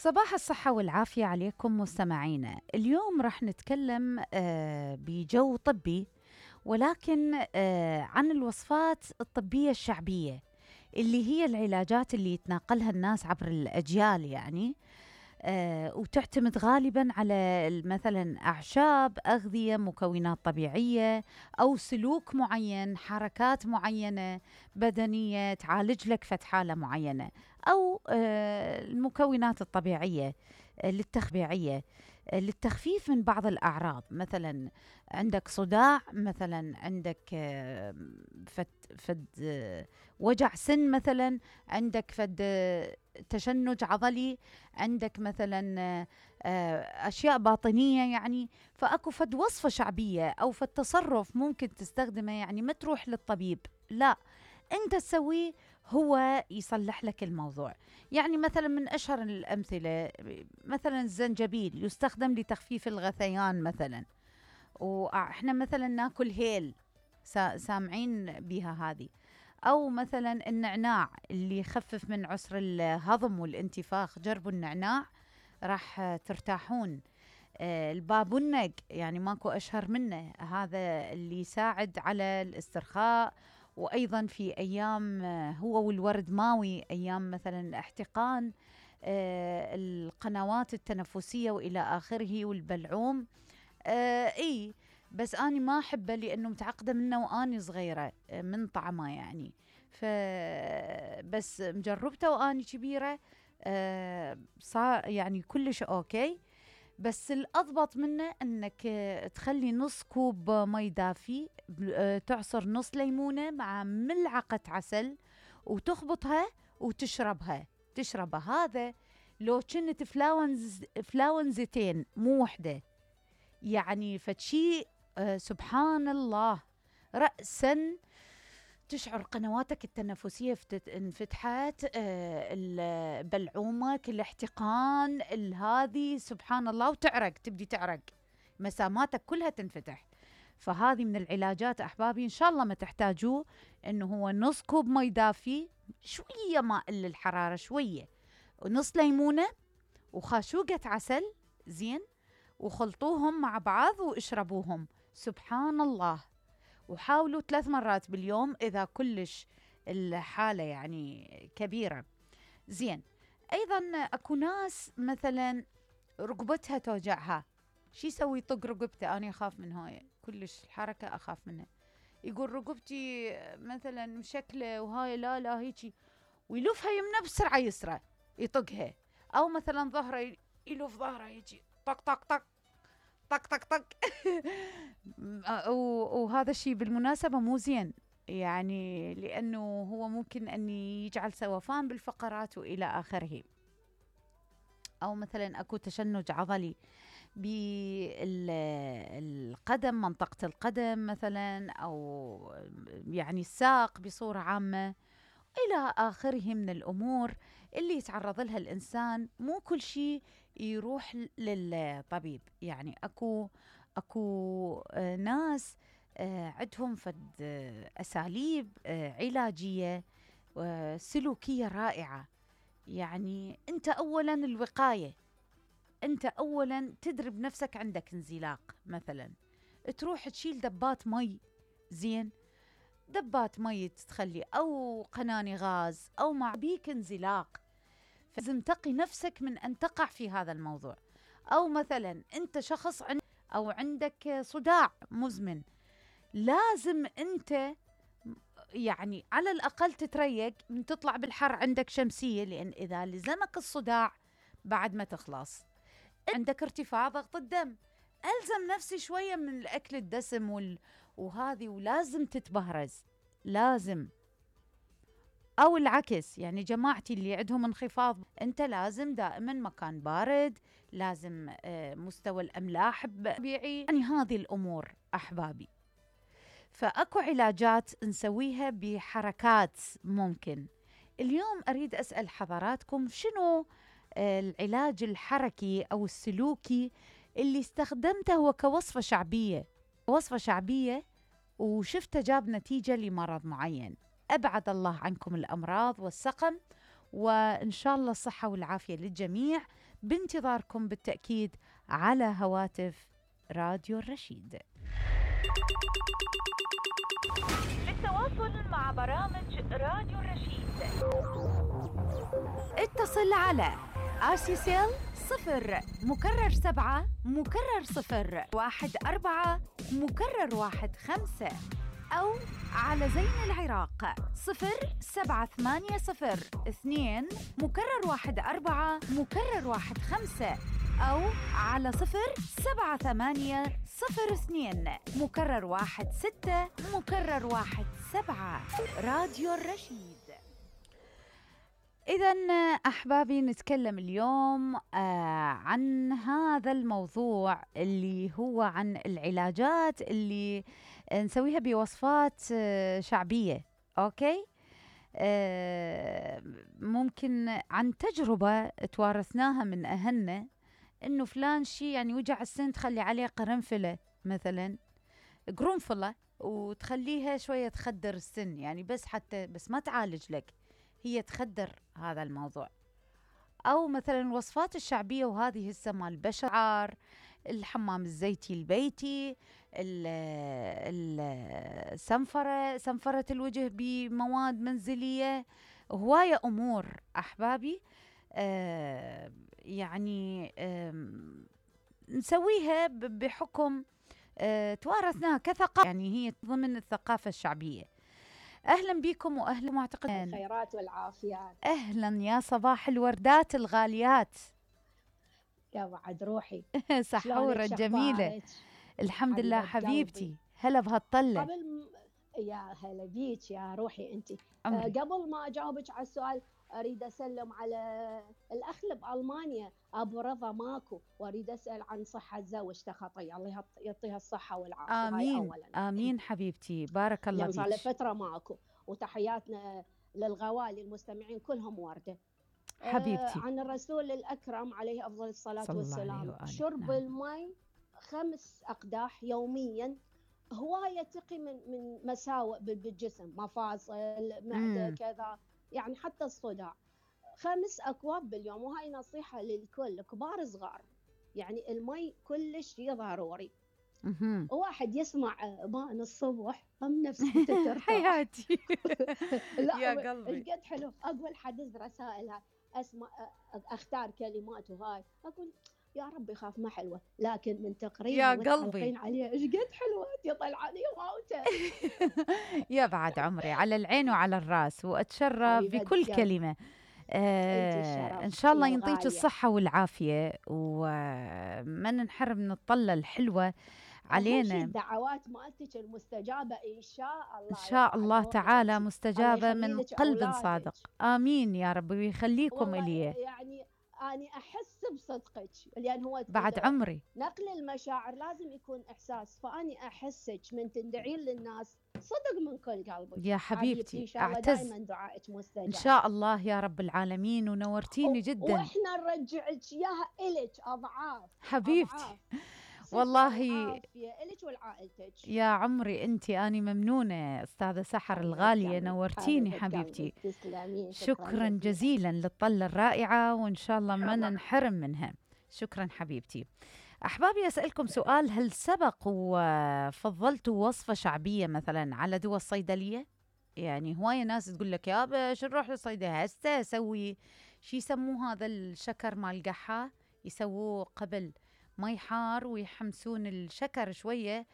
صباح الصحة والعافية عليكم مستمعينا. اليوم راح نتكلم بجو طبي، ولكن عن الوصفات الطبية الشعبية اللي هي العلاجات اللي يتناقلها الناس عبر الأجيال، يعني وتعتمد غالبا على مثلا أعشاب، أغذية، مكونات طبيعية، أو سلوك معين، حركات معينة بدنية تعالج لك فد حالة معينة، أو المكونات الطبيعية للتخبيعية للتخفيف من بعض الأعراض. مثلا عندك صداع، مثلا عندك فد وجع سن، مثلا عندك فد تشنج عضلي، عندك مثلا أشياء باطنية، يعني فأكو فد وصفة شعبية أو فد تصرف ممكن تستخدمه، يعني ما تروح للطبيب، لا أنت تسويه هو يصلح لك الموضوع. يعني مثلا من أشهر الأمثلة مثلا الزنجبيل يستخدم لتخفيف الغثيان مثلا، وإحنا مثلا ناكل هيل، سامعين بها هذه. أو مثلا النعناع اللي يخفف من عسر الهضم والانتفاخ، جربوا النعناع راح ترتاحون. البابونج يعني ماكو أشهر منه، هذا اللي يساعد على الاسترخاء، وأيضا في أيام هو والورد ماوي، أيام مثلا احتقان القنوات التنفسية وإلى آخره، والبلعوم. بس أنا ما أحبه لأنه متعقدة منه وأني صغيرة من طعمه، يعني بس مجربته وأني كبيرة، صار يعني كلش أوكي. بس الأضبط منه أنك تخلي نص كوب مي دافي، تعصر نص ليمونة مع ملعقة عسل وتخبطها وتشربها. هذا لو كنت فلاونزتين مو وحدة، يعني فتشي سبحان الله، رأساً تشعر قنواتك التنفسية انفتحت، بلعومك، الاحتقان هذه سبحان الله، وتعرق، تبدي تعرق، مساماتك كلها تنفتح. فهذه من العلاجات أحبابي، إن شاء الله ما تحتاجوه، إنه هو نص كوب مي دافي، شوية ماء للحرارة شوية، ونص ليمونة، وخاشوقة عسل، زين، وخلطوهم مع بعض واشربوهم. سبحان الله. وحاولوا 3 مرات باليوم إذا كلش الحالة يعني كبيرة. زين. أيضا أكو ناس مثلا رقبتها توجعها، شي يسوي؟ يطق رقبته. أنا أخاف من هاي كلش، الحركة أخاف منها. يقول رقبتي مثلا مشكلة وهاي لا هيجي، ويلفها يمنى بسرعة يسرى يطقها. أو مثلا ظهره، يلف ظهره يجي طق طق طق طق طق طق وهذا الشيء بالمناسبة مو زين، يعني لأنه هو ممكن أن يجعل سوفان بالفقرات وإلى آخره. أو مثلا أكو تشنج عضلي بالقدم، منطقة القدم مثلا، أو يعني الساق بصورة عامة، إلى آخره من الأمور اللي يتعرض لها الإنسان. مو كل شيء يروح للطبيب، يعني أكو ناس عندهم فد أساليب علاجية سلوكية رائعة. يعني أنت أولا الوقاية، أنت أولا تدرب نفسك، عندك انزلاق مثلا تروح تشيل دبات مي، زين، دبات مي تخلي، أو قناني غاز، أو مع بيك انزلاق، فلازم تقي نفسك من أن تقع في هذا الموضوع. أو مثلا أنت شخص أو عندك صداع مزمن، لازم أنت يعني على الأقل تتريق من تطلع بالحر، عندك شمسية، لأن إذا لزمك الصداع بعد ما تخلص. عندك ارتفاع ضغط الدم، ألزم نفسي شوية من الأكل الدسم وهذه، ولازم تتبهرز، لازم. أو العكس، يعني جماعتي اللي عندهم انخفاض، أنت لازم دائما مكان بارد، لازم مستوى الأملاح طبيعي، يعني هذه الأمور أحبابي. فأكو علاجات نسويها بحركات ممكن. اليوم أريد أسأل حضراتكم شنو العلاج الحركي أو السلوكي اللي استخدمته هو كوصفة شعبية وشفته جاب نتيجة لمرض معين. أبعد الله عنكم الأمراض والسقم وإن شاء الله الصحة والعافية للجميع، بانتظاركم بالتأكيد على هواتف راديو الرشيد. للتواصل مع برامج راديو الرشيد اتصل على آسيسيل 0 مكرر 0 14 15 أو على زين العراق 0780 2 14 أو على 07802 16 17 راديو الرشيد. إذن أحبابي نتكلم اليوم عن هذا الموضوع اللي هو عن العلاجات اللي نسويها بوصفات شعبية. أوكي، ممكن عن تجربة توارثناها من أهلنا، إنه فلان شي يعني وجع السن تخلي عليه قرنفلة مثلا، قرنفلة، وتخليها شوية تخدر السن، يعني بس ما تعالج لك، هي تخدر هذا الموضوع. أو مثلا الوصفات الشعبية، وهذه هسه مال البشر، الحمام الزيتي البيتي، سنفرة الوجه بمواد منزلية، هواية أمور أحبابي يعني نسويها بحكم توارثناها كثقافة، يعني هي ضمن الثقافة الشعبية. أهلا بكم وأهلا معتقدين الخيرات والعافيات. أهلا يا صباح الوردات الغاليات يا وعد روحي سحورة جميلة. الحمد لله حبيبتي. هلا بهالطلة. يا هلا بيك يا روحي انت. قبل ما اجاوبك على السؤال، اريد اسلم على الاخ بألمانيا ابو رضا ماكو، واريد اسال عن صحه زوجته خطيه، الله يعطيها الصحه والعافيه. امين هاي اولا. امين حبيبتي، بارك الله فيك. صار له فتره ماكو، وتحياتنا للغوالي المستمعين كلهم ورده حبيبتي. عن الرسول الأكرم عليه أفضل الصلاة والسلام. شرب الماء 5 أقداح يوميا هواية تقي من مساوئ بالجسم، مفاصل، معدة، كذا، يعني حتى الصداع. 5 أكواب باليوم، وهاي نصيحة للكل كبار صغار، يعني الماء كلش ضروري. واحد يسمع بان الصبح هم نفسه ترتاح حياتي. لا يا قلبي القد حلو. اقول حدث رسائلها، اسمع اختار كلمات، وهاي اقول يا رب يخاف ما حلوه، لكن من تقريبا يا قلبي عليها ايش قد حلوه يطلعني واوته. يا بعد عمري، على العين وعلى الراس، واتشرف بكل كلمه. إن شاء الله ينطيك الصحة والعافية، وما ننحرم من الطلة الحلوة علينا. الدعوات مالتك المستجابة إن شاء الله، إن شاء الله تعالى مستجابة من قلب صادق. آمين يا رب، ويخليكم إلي. يعني أنا أحس بصدقك، لأن هو بعد عمري نقل المشاعر لازم يكون إحساس، فأني أحسك من تندعين للناس صدق من كل قلبك يا حبيبتي. إن شاء الله دائما دعائك مستجاب إن شاء الله يا رب العالمين، ونورتيني جدا. وإحنا نرجعك إياها إلك أضعاف حبيبتي. أضعاف. والله إلك ولعائلتك يا عمري انتي، اني ممنونه استاذه سحر الغاليه، نورتيني حبيبتي. شكرا جزيلا للطله الرائعه، وان شاء الله ما ننحرم منها. شكرا حبيبتي. احبابي، اسالكم سؤال، هل سبق وفضلتوا وصفه شعبيه مثلا على دواء الصيدليه؟ يعني هوايه ناس تقول لك يا باش نروح للصيدليه هسه اسوي شي يسموه هذا الشكر مال القحه، يسووه قبل مي حار ويحمسون الشكر شوية،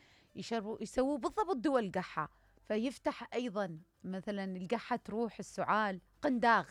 يسووا بالضبط دواء القحة، فيفتح أيضا مثلا القحة تروح، السعال، قنداغ